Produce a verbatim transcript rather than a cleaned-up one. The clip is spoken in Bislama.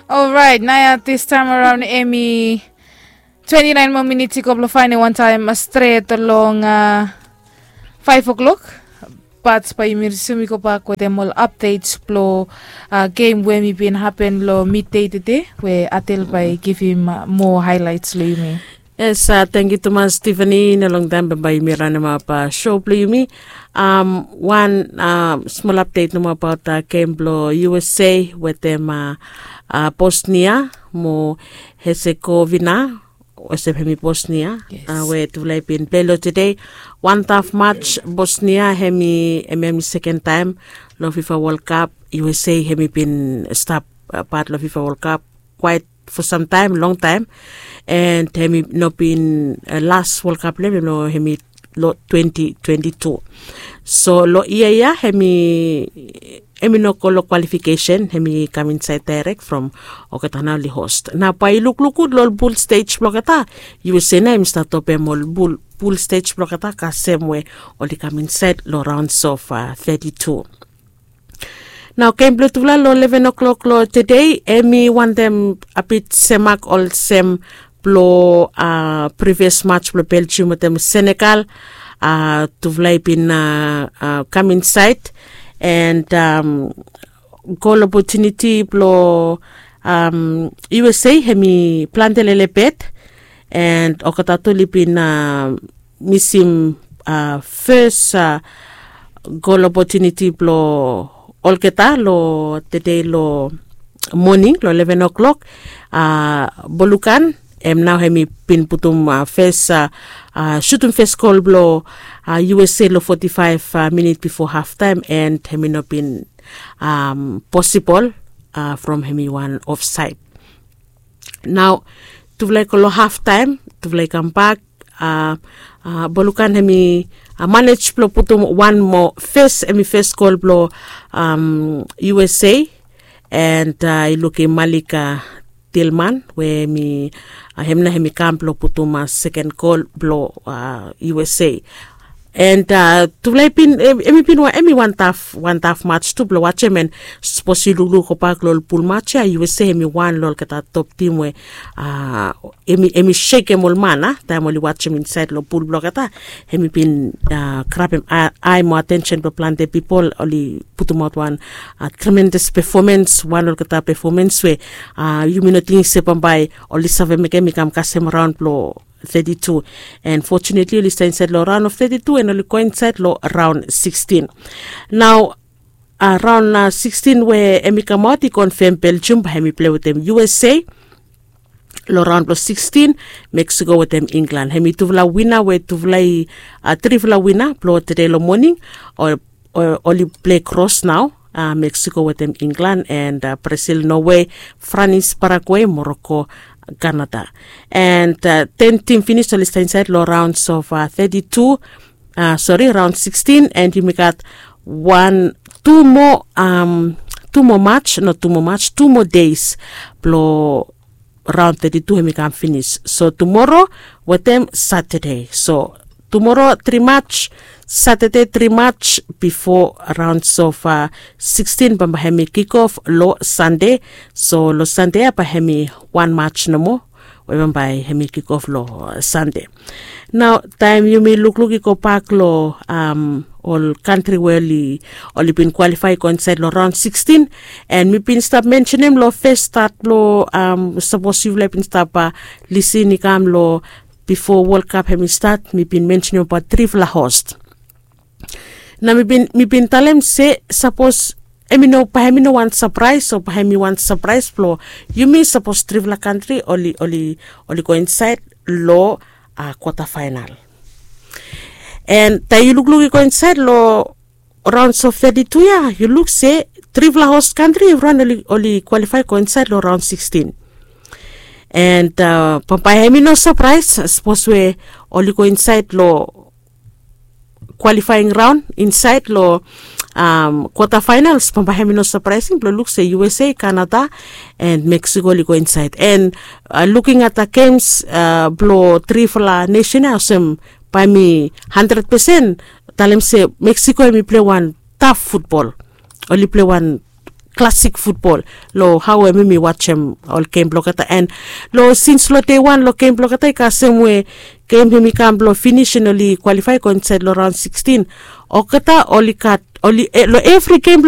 Orait, naoia distaem araon hemi twenti naen moa minits i go blong faenem wantaem stret long faef oklok. Bat bae yumi risum i gobak wetem ol apdets blong gem we hemi bin hapen long middei tede, we Adel bae i givim moa haelaets long yumi. Yes, tangkiu tumas Tiffany. No longtaem bambae yumi ranemap sho blong yumi. Wan smol apdet nomo abaot gem blong USA wetem Bosnia mo Herzegovina, olsem hemi Bosnia, we tufala i bin pilei long tede. Wan taf mats. Bosnia hemi hemi seken taem long FIFA World Cup. USA hemi bin stap pat long FIFA World Cup kwaet fo samtaem, longtaem. And hemi no bin las World Cup blong hem, hemi long twenti twenti tu. So long yia ya hemi hemi no go long kwalifikesen, hemi kam insaed daerek from olgeta nao oli host. Nao bae i lukluk gud long ol pul stej blong olgeta. USA nao hemi stap topem ol pul stej blong olgeta kasem we oli kam insaed long raons of teti tu. Nao gem blong tufala long leven oklok long tede, hemi wantem a bit semak olsem blong privios mats blong Belgium wetem Senegal. Tufala i bin kam insaed, and gol opotuniti blong USA hemi plante lelebet, and olgeta tu oli bin misim fes gol opotuniti blong olgeta long tede long moning long leven oklok. Bolukan, hem nao hemi bin putum fes, sutum fes gol blong USA long foti faef minit bifo haftaem, and hemi no bin posibol from hemi wan ofsaed. Nao tufala i go long haftaem, tufala i kambak. Bolukan hemi manej blong putum wan moa fes, hemi fes gol blong USA, and i lukim Malik Tilman we hemi hem nao hemi kam blong putum seken gol blong USA. And tufala i bin, hemi bin wan hemi wan taf wan taf mats tu blong wajem, and sapos yu lukluk gobak long ol pul mats ya, USA hemi wan long olgeta top tim we hemi sekem ol man a taem oli wajem insaed long pul blong olgeta. Hemi bin grabem ae mo atensen blong plante pipol. Oli putumaot wan tremendes pefomens, wan olgeta pefomens we yumi no tingting se bambae oli save mekem i kam kasem raon blong teti tu. And fotunetli oli stap insaed long raon of teti tu, and oli go insaed long raon sikstin. Nao raon sikstin we hemi kamaot i konfem Belgium bae hemi pilei wetem USA. Long raon blong sikstin, Meksiko wetem Inglan. Hemi tufala wina we tufala i trifala wina blong tede long moning. Oli pilei kros nao, Meksiko wetem Inglan, and Brasil, Nowe, Franis, Paragwe, Moroko, Kanada. And ten tim finis oli stap insaed long raons of teti tu, sori, raon sikstin, and yumi gat wan tu moa tu moa mats, no tu moa mats, tu moa deis blong raon teti tu hemi kam finis. So tumoro wetem Satade. So tumoro tri mats, Satade tri mats bifo raons of sikstin bambae hemi kikof long Sande. So long Sande ya bae hemi wan mats nomo we bambae hemi kikof long Sande. Nao taem yumi lukluk i gobak long ol kantri we oli bin kwalifae i go insaed long raon sikstin, and mi bin stap mensenem long fes stat blong, sapos yufala i bin stap lisin i kam long bifo Wol Kap hemi stat, mi bin mensenem abaot trifala host. Nao mi bin talem se sapos hemi no bae hemi no wan sapraes, o bae hemi wan sapraes blong yumi sapos trifala kantri oli oli oli go insaed long kwata faenal. And taem yu lukluk i go insaed long raons of teti tu ya, yu luk se trifala host kantri evriwan oli kwalifae go insaed long raon sikstin. And bambae hemi no sapraes sapos we oli go insaed long kwalifaeng raon insaed long kwata faenals, bambae hemi no sapraesing blong luk se USA, Kanada, and Meksiko oli go insaed. And luking at da gems blong trifala nesen ya, olsem bae mi handred pesen talem se Meksiko hemi pilei wan taf futbol. Oli pilei wan klasik futbol. Long hao we mi mi wajem ol gem blong olgeta, and long sins long dei wan long gem blong olgeta i kasem we gem hem i kam blong finis and oli kwalifai go insaed long raon sikstin. Olgeta oli gat oli long evri gem blong